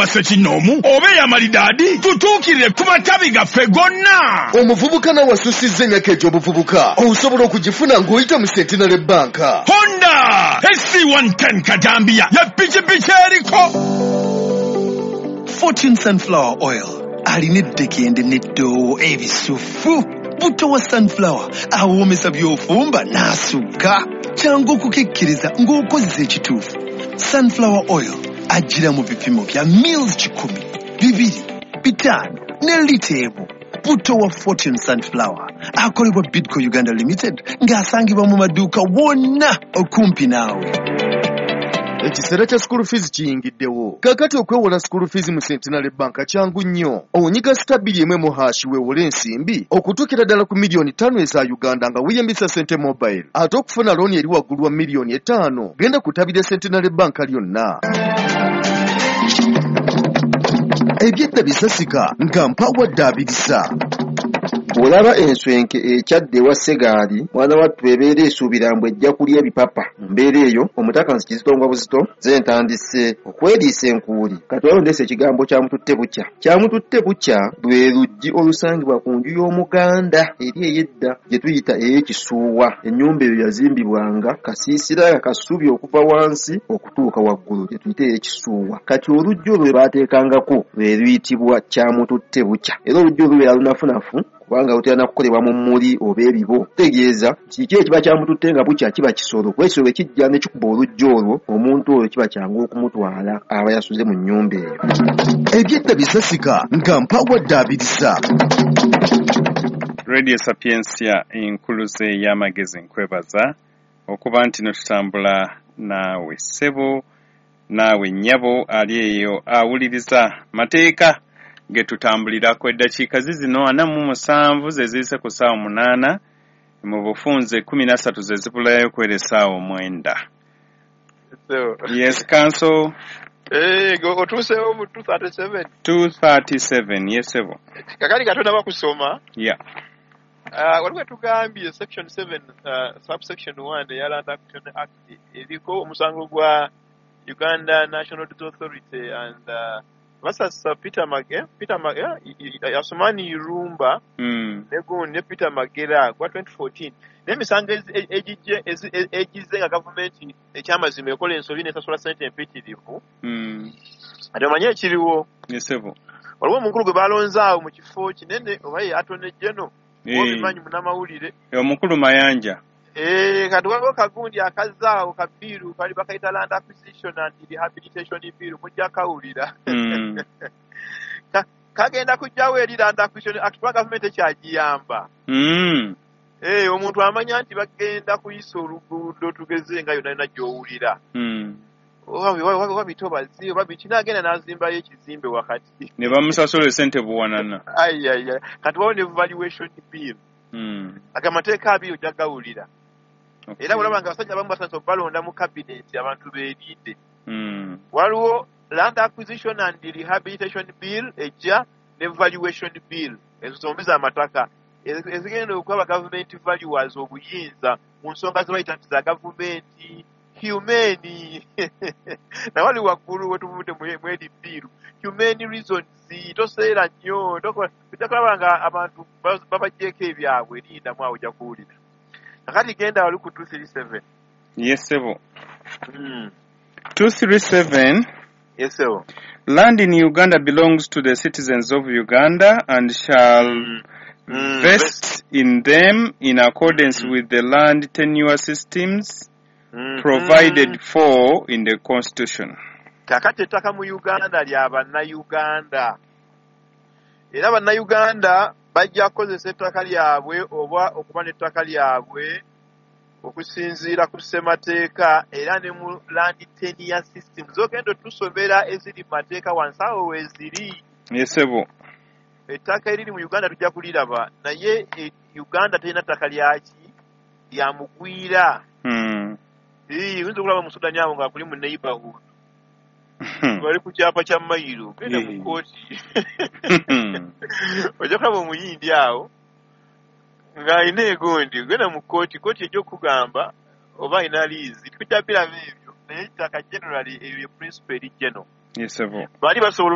Ssekinnoomu oba ey'amalidaadi, tutuukirire ku matabi gaffe gonna. Omuvubuka nawe asusizza emyaka egy'obuvubuka, osobola okugifuna ng'oyita mu Centenary Bank. Honda SC110 Katambiya ya pikipiki eriko Fortune Sunflower Oil alina eddekende n'eddoowo ebisufu. Butto wa sunflower awoomesa by'ofumba n'asukka. Kyangu okukikkiriza ng'okozesa ekituufu. Sunflower Oil ajjira mu bipimo bya mils 100, 2, 5 ne lita 1. Butto wa Fortune Sunflower akolebwa Bidco Uganda Limited ng'asangibwa mu maduuka wonna okumpi naawe. Ekiseera kya school fees kiyingiddewo. Kaakati okwewola school fees mu Centenary Bank kyangu nnyo. Onyiga *211# weewole ensimbi okutuukira ddala ku miliyoni 5 eza Uganda nga weeyambisa Sente Mobile. Ate okufuna looni eri waggulu wa miliyoni 5, genda ku ttabi lya Centenary Bank lyonna. Ebyedda bisasika nga mpawadde abirisa. Bw'olaba enswenke ekyadde ewa Ssegaali, mwana wattu ebeera esuubira mbu ejja kulya ebipapa. Mu mbeera eyo, omutaka nsi kizito buzito, nze ntandise okweriisa enkuuli. Kati waliwo ndeese ekigambo kyamututte bukya. Kyamututte bukya lwe luggi olusangibwa ku nju y'Omuganda eri ey'edda gye tuyita ey'ekisuuwa. Ennyumba eyo yazimbibwanga kasiisira nga kasubi okuva wansi okutuuka waggulu, gye tuyita ey'ekisuuwa. Kati oluggi olwo lwe baateekangako lwe luyitibwa kyamututte bukya. Era oluggi olwo lubeera lunafunafu kubanga lutera na kukolebwa mu mmuli oba ebibo. Kitegeeza nti kiki ekiba kyamututte nga bukya kiba kisolo, kuba ekisolo bwe kijja ne kikuba oluggi olwo, omuntu oyo kiba kyangu okumutwala aba yasuze mu nnyumba eyo. Ebyedda bisasika nga mpawadde abirisa. Radio Sapientia, enkuluze y'amagezi, nkwebaza okuba nti no tutambula naawe ssebo, naawe nnyabo ali eyo awuliriza mateeka ge tutambulirako. Eddakiika zizino 47 ze ziyise ku ssaawa 8, mu bufunze 13 ze zibulayo okwera essaawa 9. Yes, counsel. Otuuseewo mu 237. 237, yes ssebo. Kakati katonda kusoma. Yeah. Waliwo tugambye section 7 subsection 1 eya Land Acquisition Act eriko omusango gwa Uganda National Roads Authority and versus Peter Mage, Peter Mage, Asumani Irumba ne gundi ne Peter Magera gwa 2014, n'emisango egijje egizze nga gavumenti ekyamazima ekola ensobi n'esasula ssente empitirivu. Ate omanye ekiriwo? Yes ssebo. Waliwo omukulu gwe balonze awo mu kifo kinene, oba ye Attorney General, obimanyi, munnamawulire. Omukulu Mayanja. Kati waliwo kagundi akazzaawo ka bill kali bakayita Land Acquisition and Rehabilitation Bill, mujja kawulira. Kagenda kujjawo eri Land Acquisition Act kuba gavumenti ekyagiyamba. Omuntu amanya nti bagenda kuyisa oluguudo, tugeze nga yonna yonna gy'owulira, oba bitobazi oba biki, n'agenda n'azimbayo ekizimbe wakati. Ne bamusasula esente buwanana. Ayaya, kati waliwo ne valuation bill. Aga amateeka abiri ojja gawulira. Era olaba nga abasajja abamu batandise okubalonda mu kabineti, abantu beerinde. Waliwo Land Acquisition and Rehabilitation Bill ejja ne valuation bill, ezo zombi z'amataka ezigenda okuba gavumenti valuers obuyinza mu nsonga ze bayita nti za gavumenti humane. Nawali waggulu wetuvudde mu eri bill, humane reasons, toseera nnyo, ojja kulaba nga abantu babaggyeko ebyabwe. Lindamu awo, ojja kuwulira. Kakati genda wali ku 237. Yes ssebo. 237. Yes ssebo. Land in Uganda belongs to the citizens of Uganda and shall vest in them in accordance with the land tenure systems provided for in the Constitution. Kakati ettaka mu Uganda lya Bannayuganda, era Bannayuganda bajja kukozesa ettaka lyabwe oba okuba n'ettaka lyabwe okusinziira ku ssemateeka era ne mu land tenure system zogenda otusomera eziri mu mateeka wansi awo weeziri. Yes ssebo. Ettaka eriri mu Uganda tujja kuliraba, naye Uganda terina ttaka lyaki lya mugwira. Oyinza okulaba mu Sudani awo nga kuli mu neighborhood, bali ku kyapa kya mayiro, genda mu kooti, ojja kulaba Omuyindi awo ng'alina egundi, genda mu kooti, kooti ejja okugamba oba alina liizi. Tujja biraba ebyo, naye ettaka generally eyo ye principle eri general. Yes, ssebo. Bali basobola